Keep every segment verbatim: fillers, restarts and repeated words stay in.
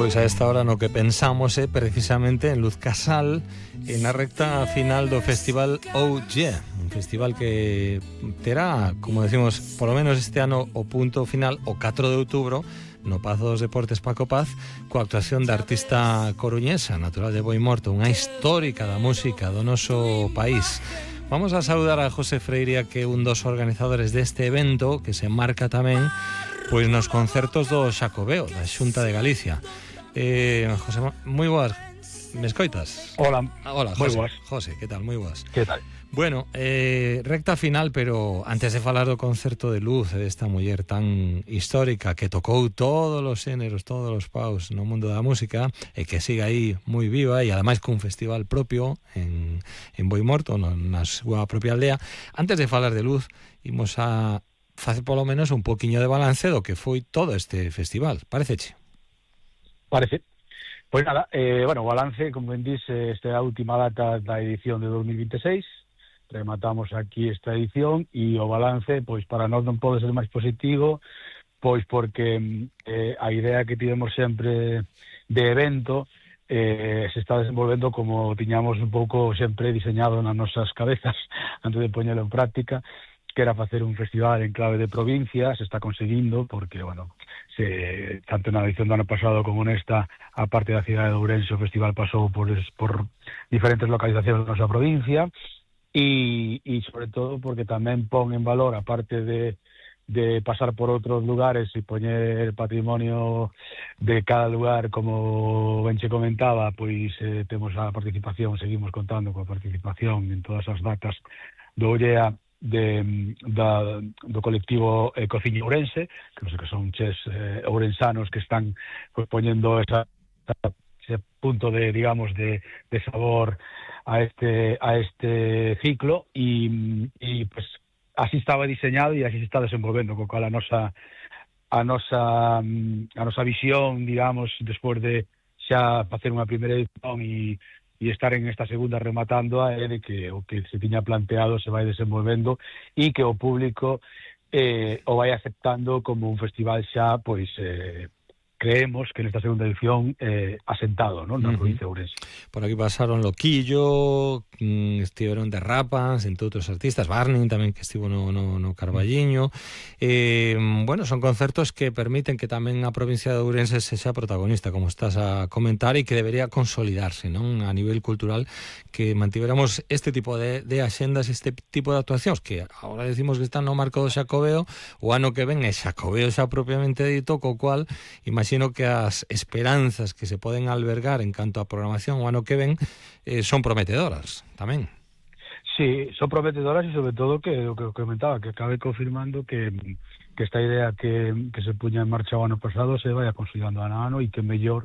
Pois a esta hora no que pensamos é precisamente en Luz Casal, en a recta final do festival Oh Yeah, un festival que terá, como decimos, polo menos este ano o punto final o catro de outubro no Pazo dos Deportes Paco Paz, coa actuación da artista coruñesa, natural de Boimorto, unha histórica da música do noso país. Vamos a saudar a José Freiria, que é un dos organizadores deste evento, que se marca tamén pois nos concertos do Xacobeo, da Xunta de Galicia. Eh, José, moi boas, me escoitas? Hola, ah, hola, José, moi boas. José, que tal? Moi boas. Que tal? Bueno, eh, recta final, pero antes de falar do concerto de Luz, desta muller tan histórica que tocou todos os xéneros, todos os paus no mundo da música e que sigue aí moi viva e ademais cun festival propio en, en Boimorto, no, na súa propia aldea. Antes de falar de Luz, imos a facer polo menos un poquinho de balance do que foi todo este festival, pareceche? Parece. Pois nada, eh, bueno, o balance, como ben dice, esta é a última data da edición de dos mil vinte e seis, rematamos aquí esta edición e o balance, pois para nós non pode ser máis positivo, pois porque eh, a idea que tivemos sempre de evento eh, se está desenvolvendo como tiñamos un pouco sempre diseñado nas nosas cabezas antes de poñelo en práctica, que era facer un festival en clave de provincia. Se está conseguindo porque, bueno, se, tanto na edición do ano pasado como nesta, a parte da cidade de Ourense, o festival pasou por, por diferentes localizacións da nosa provincia e, e sobre todo porque tamén pon en valor, a parte de, de pasar por outros lugares e poñer patrimonio de cada lugar, como ben che comentaba, pois eh, temos a participación, seguimos contando coa participación en todas as datas do Ollea, de, da, do colectivo eh, Cociña Ourense, que non sei que son ches eh, ourensanos que están pues, poñendo esa, ese punto de, digamos, de, de sabor a este a este ciclo e, e pues así estaba diseñado e así se está desenvolvendo, co cal a nosa a nosa a nosa visión, digamos, despois de xa facer unha primeira edición e e estar en esta segunda rematando é de que o que se tiña planteado se vai desenvolvendo e que o público eh, o vai aceptando como un festival xa, pois, eh, creemos que nesta segunda edición eh, asentado, non, na uh-huh. provincia de Ourense. Por aquí pasaron Loquillo, mmm, estiveron de Rapas, entre outros artistas, Barney tamén, que estivo no, no, no Carballiño. Eh, bueno, son concertos que permiten que tamén a provincia de Ourense se xa protagonista, como estás a comentar, e que debería consolidarse, non, a nivel cultural, que mantiveramos este tipo de, de axendas, este tipo de actuacións, que agora decimos que están no marco do Xacobeo, o ano que ven é Xacobeo xa propiamente dito, co cual, imagínate, sino que as esperanzas que se poden albergar en canto a programación o ano que ven eh, son prometedoras tamén. Sí, son prometedoras e sobre todo que o que comentaba, que acabe confirmando que, que esta idea que, que se puña en marcha o ano pasado se vai consolidando ano a ano e que mellor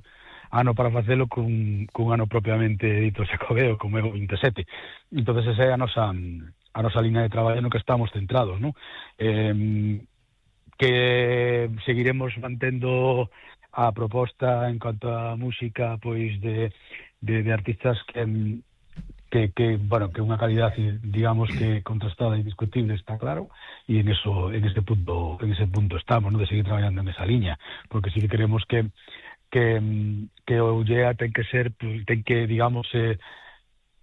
ano para facelo cun, cun ano propiamente dito Xacobeo, como é o vinte e sete. Entón, esa é a nosa, a nosa línea de traballo no que estamos centrados, non? Eh, que seguiremos mantendo a proposta en cuanto a música, pois de, de, de artistas que, que, que, bueno, que unha calidad, digamos, que contrastada e indiscutible, está claro, e en eso, en ese punto, en ese punto estamos, ¿no?, de seguir traballando en esa liña, porque si queremos que que, que o Ollea ten que ser, ten que, digamos, eh,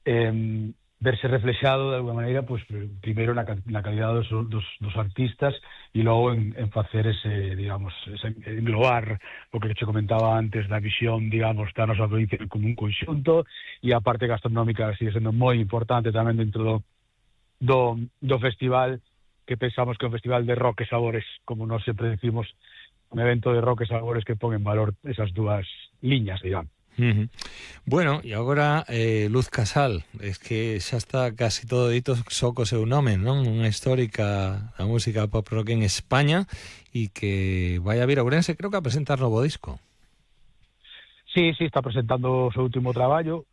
eh, verse reflexado de alguma maneira, pues primeiro na, na calidad dos, dos, dos artistas e logo en, en facer ese, digamos, ese, englobar o que te comentaba antes da visión, digamos, da nosa provincia como un conxunto, e a parte gastronómica sigue sendo moi importante tamén dentro do, do, do festival, que pensamos que é un festival de rock e sabores, como nós sempre decimos, un evento de rock e sabores que pon en valor esas dúas liñas, digamos. Uh-huh. Bueno, e agora eh, Luz Casal, es que xa está casi todo dito só co seu nome, non? Unha histórica da música pop rock en España e que vai a vir a Ourense, creo que a presentar novo disco. Sí, sí, está presentando o seu último traballo,